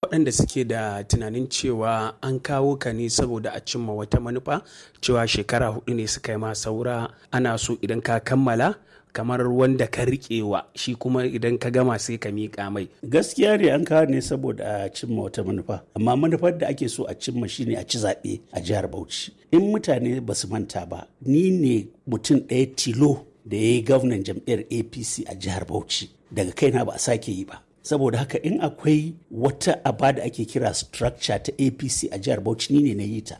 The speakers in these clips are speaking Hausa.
Waɗanda suke da tunanin cewa an kawo ka ne saboda a cimma wata manufa, cewa shekara 4 ne suka yi ma saura, ana so idan ka kammala kamar wanda ka riƙewa shi kuma idan ka gama sai ka miƙa mai. Gaskiya ne, an kawo ne saboda a cimma wata manufa, amma manufar da ake so a cimma shine a ci zaɓe a jihar Bauchi. In mutane ba su manta ba, ni ne mutum ɗaya tilo da ya yi gwamnan jam'iyyar APC a jihar Bauchi. Daga kaina ba a sake yi ba. Saboda haka in akwai wata aba da ake kira structure ta APC a jihar Bauchi, ni ne na yi ta.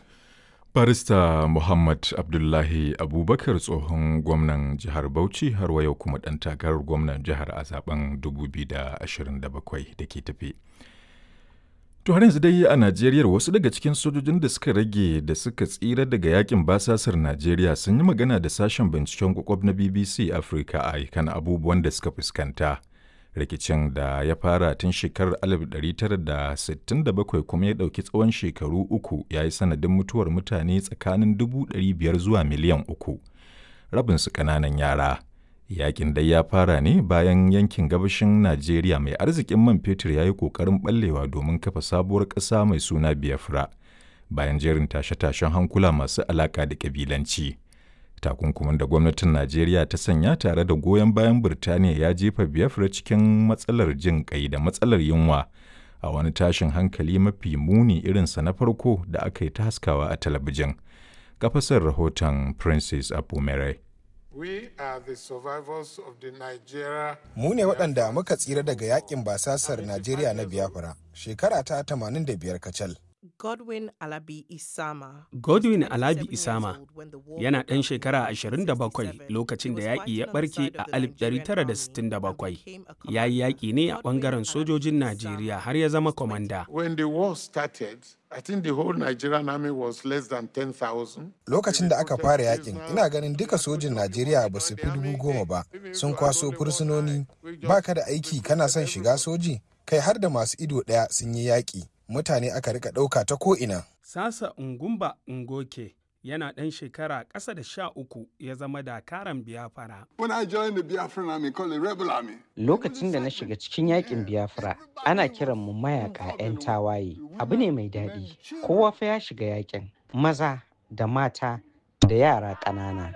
Barista Muhammad Abdullahi Abubakar, tsohon gwamnan jihar Bauchi, har wa yau kuma ɗan takarar gwamnan jihar a zaben 2027 da ke tafe. To har yanzu dai a Najeriya, wasu daga cikin sojojin da suka rage da suka tsira daga yakin basasar Najeriya sun yi magana da sashen binciken kwakwab na BBC Africa a kan abubuwan da suka fuskanta. Rikicin da ya fara tun shekarar 1967 kuma ya ɗauki tsawon shekaru 3 ya yi sanadin mutuwar mutane tsakanin 500,000 zuwa miliyan 3, rabinsu ƙananan yara. Yakin dai ya fara ne bayan yankin gabashin Najeriya mai arzikin man fetur ya yi ƙoƙarin ɓallewa domin kafa sabuwar ƙasa mai suna Biafra, bayan jerin tashe-tashen hankula masu alaƙa da ƙabilanci. Takunkumin da gwamnatin Najeriya ta sanya tare da goyon bayan Birtaniya ya jefa Biafra cikin matsalar jin kai da matsalar yunwa a wani tashin hankali mafi muni irinsa na farko da aka yi ta haskawa a talabijin. Kafasar rahoton Princess Apumere. Mu ne waɗanda muka tsira daga yakin basasar Najeriya na Biafra, shekara ta 85 kacal. Godwin Alabi Isama. Godwin Alabi Isama yana ɗan shekara 27 lokacin da yaƙi ya ɓarke a 1967. Ya yi yaƙi ne a ɓangaren sojojin Najeriya har ya zama kwamanda. When the war started, I think the whole Nigerian army was less than 10,000. Lokacin da aka fara yakin, ina ganin duka sojin Najeriya ba su fi 10,000 ba. Sun kwaso fursunoni, baka da aiki kana son shiga soji, kai har da masu ido ɗaya sun yi yaƙi. Mutane aka rika ɗauka ta ko'ina. Sasa Ngumba Ngoke yana ɗan shekara ƙasa da 13 ya zama dakaran Biafra. Lokacin da na shiga cikin yakin Biafra, ana kiran mu mayaka 'yan tawaye. Abu ne mai daɗi. Kowa fa ya shiga yakin, maza da mata da yara ƙanana.